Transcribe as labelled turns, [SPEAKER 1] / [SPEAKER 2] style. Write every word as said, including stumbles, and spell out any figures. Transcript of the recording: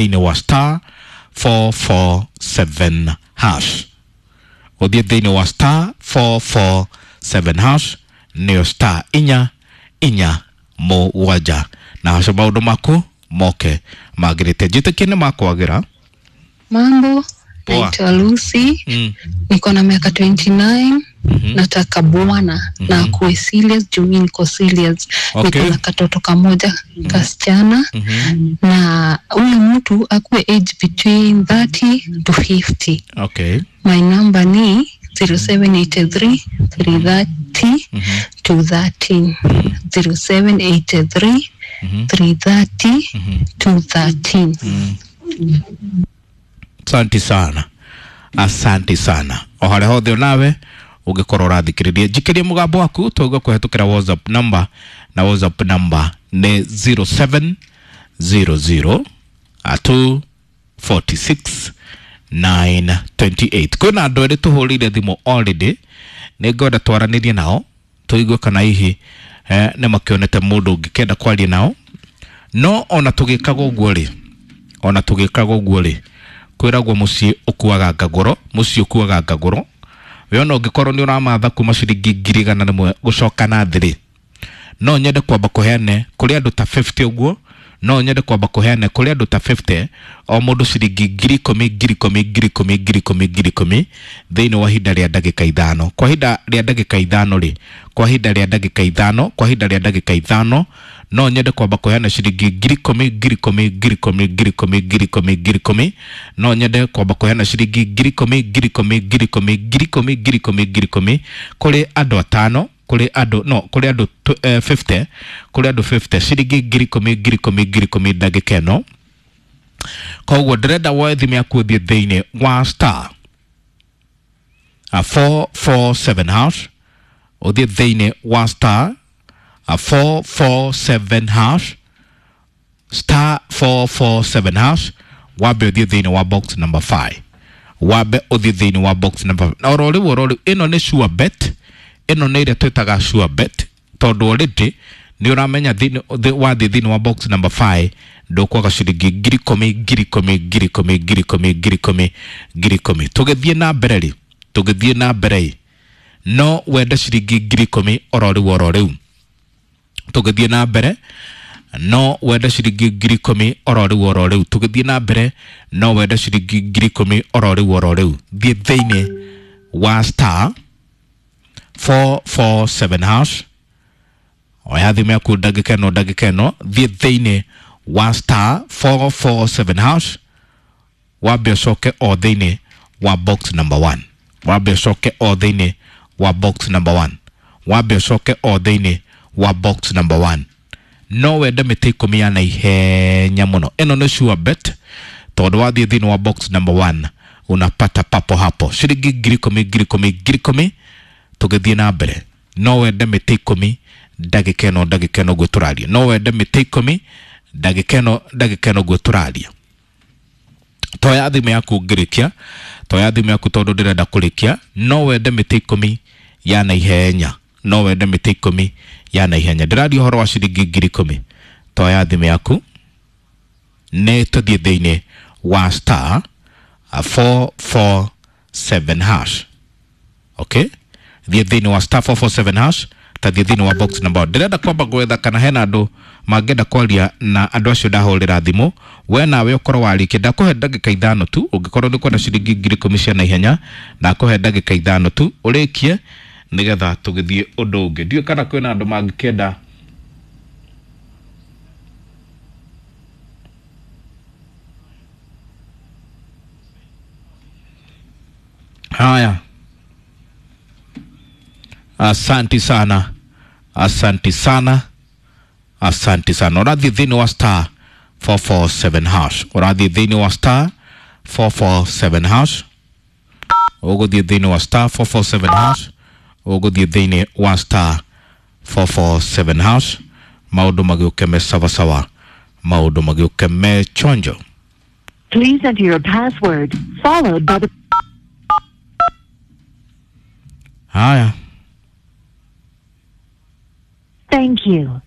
[SPEAKER 1] Thĩinĩ wa star four four seven hash, ũthiĩ thĩinĩ wa star four four seven hash, nĩyo star inya inya mũgwanja, na haco maũndũ maku moke magĩrĩte. Njĩtĩkie nĩ makwagĩra.
[SPEAKER 2] Mambo,
[SPEAKER 1] Poa.
[SPEAKER 2] Naitwa Lucy.
[SPEAKER 1] mm.
[SPEAKER 2] Niko na miaka ishirini na tisa.
[SPEAKER 1] mm-hmm.
[SPEAKER 2] Nataka bwana na akuwe serious juu mi niko serious.
[SPEAKER 1] Okay.
[SPEAKER 2] Niko na katoto kamoja kasichana
[SPEAKER 1] Mm-hmm.
[SPEAKER 2] na huyu mtu akuwe age between thirty to fifty.
[SPEAKER 1] Okay.
[SPEAKER 2] My number ni zero seven eight three three thirty two thirteen, zero seven eight three three thirty two thirteen.
[SPEAKER 1] Asante sana, asante sana. O harĩa hothe onawe ũngĩkorwo ũrathikĩrĩria, njikĩrie mũgambo waku tũigue kũhetũkĩra WhatsApp number, na WhatsApp number nĩ zero seven zero zero two four six nine two eight. Kwĩna andũ erĩ tũhũrĩire thimũ already, nĩ ngwenda twaranĩrie nao tũigue kana hihi eh, nĩ makĩonete mũndũ ũngĩkenda kwaria nao. No ona tũgĩkaga ũguo rĩ, ona tũgĩkaga ũguo rĩ, kwĩragwo mũciĩ ũkuaga ngagũro, mũciĩ ũkuaga ngagũro. We ona ũngĩkorwo nĩ ũramatha kuma ciringi ngiri igana rĩmwe gũcoka na thĩ rĩ, no nyende kwamba kũheane kũrĩ andũ ta mĩrongo ĩtano ũguo. No nyende kwamba kũheane kũrĩ andũ ta mĩrongo ĩtano, o mũndũ ciringi ngiri ikũmi, ngiri ikũmi, ngiri ikũmi, ngiri ikũmi, ngiri ikũmi, thĩinĩ wa ihinda rĩa ndagĩka ithano. Kwa ihinda rĩa ndagĩka ithano rĩ, kwa ihinda rĩa ndagĩka ithano, kwa ihinda rĩa ndagĩka ithano, no nyende kwamba kũheana ciringi ngiri ikũmi, ngiri ikũmi, ngiri ikũmi, ngiri ikũmi, ngiri ikũmi, ngiri ikũmi. No nyende kwamba kũheana ciringi ngiri ikũmi, ngiri ikũmi, ngiri ikũmi, ngiri ikũmi, ngiri ikũmi, ngiri ikũmi kũrĩ andũ atano, kũrĩ andũ, no kũrĩ andũ tw- eh, mĩrongo ĩtano, kũrĩ andũ mĩrongo ĩtano, ciringi ngiri ikũmi, ngiri ikũmi, ngiri ikũmi ndagĩka ĩno. Koguo ndĩrenda woe thimũ yaku, ũthiĩ thĩinĩ wa star four four seven hash, ũthiĩ thĩinĩ wa star four four seven hash, star four four seven hash, wambe ũthiĩ thĩinĩ wa box number five, wambe ũthiĩ thĩinĩ wa box number. Na oro rĩu, oro rĩu, ĩno nĩ sure bet, ĩno nĩ ĩrĩa twĩtaga sure bet, tondũ already nĩ ũramenya thĩinĩ thĩ- wathiĩ thĩinĩ wa box number five ndũkwaga ciringi ngiri ikũmi, ngiri ikũmi, ngiri ikũmi, ngiri ikũmi, ngiri ikũmi, ngiri ikũmi. Tũgĩthiĩ na mbere rĩ, tũgĩthiĩ na mbere rĩ, no wende ciringi ngiri ikũmi oro rĩu, oro rĩu. Tũgĩthiĩ na mbere no wende ciringi ngiri ikũmi oro rĩu, oro rĩu. Tũgĩthiĩ na mbere no wende ciringi ngiri ikũmi oro rĩu, oro rĩu. Thiĩ thĩinĩ wa star four four seven hash, oya thimũ yaku ndagĩka ĩno, ndagĩka ĩno, thiĩ thĩinĩ wa star four four seven hash, wambe ũcoke o thĩinĩ wa box number one, wambe ũcoke o thĩinĩ wa box number one, wambe ũcoke o thĩinĩ wa box number one. No wende mĩtĩ ikũmi ya naihenya mũno. Ĩno nĩ sure bet, tondũ wathiĩ thĩinĩ wa box number one unapata papo hapo ciringi ngiri ikũmi, ngiri ikũmi, ngiri ikũmi. Tũgĩthiĩ na mbere no wende mĩtĩ ikũmi ndagĩka ĩno, ndagĩka ĩno ũguo tũraria. No wende mĩtĩ ikũmi ndagĩka ĩno, ndagĩka ĩno ũguo tũraria. Toya thimũ yaku ngĩrĩkia, toya thimũ yaku tondũ ndĩrenda kũrĩkia. No wende mĩtĩ ikũmi ya naihenya, no wende mĩtĩ ikũmi ya naihenya. Ndĩraria ũhoro wa ciringi ngiri ikũmi. Toya thimũ yaku, nĩ tũthiĩ thĩinĩ wa star four four seven hash. Okay, thiĩ thĩinĩ wa star four four seven hash, tathiĩ thĩinĩ wa box number. Ndĩrenda kwamba gwetha kana hena andũ mangĩenda kwaria na andũ acio ndahũrĩra thimũ. We nawe ũkorwo warĩkia, ndakũhe ndagĩka ithano tu. Ũngĩkorwo nĩ kwenda ciringi ngiri ikũmi cia naihenya, ndakũhe ndagĩka ithano tu ũrĩkie, nĩgetha tũgĩthiĩ ũndũ ũngĩ. Ndiũĩ kana kwĩna andũ mangĩkĩenda. Haya, asanti sana, asanti sana, asanti sana. Ũrathiĩ thĩinĩ wa star four four seven hash, ũrathiĩ thĩinĩ wa star four four seven hash, ũgũthiĩ thĩinĩ wa star four four seven hash, ũgũthiĩ thĩinĩ wa star four four seven hash, maũndũ magĩũke me sawasawa, maũndũ magĩũke me chonjo.
[SPEAKER 3] Please enter your password, followed by the
[SPEAKER 1] Haya.
[SPEAKER 3] Thank you.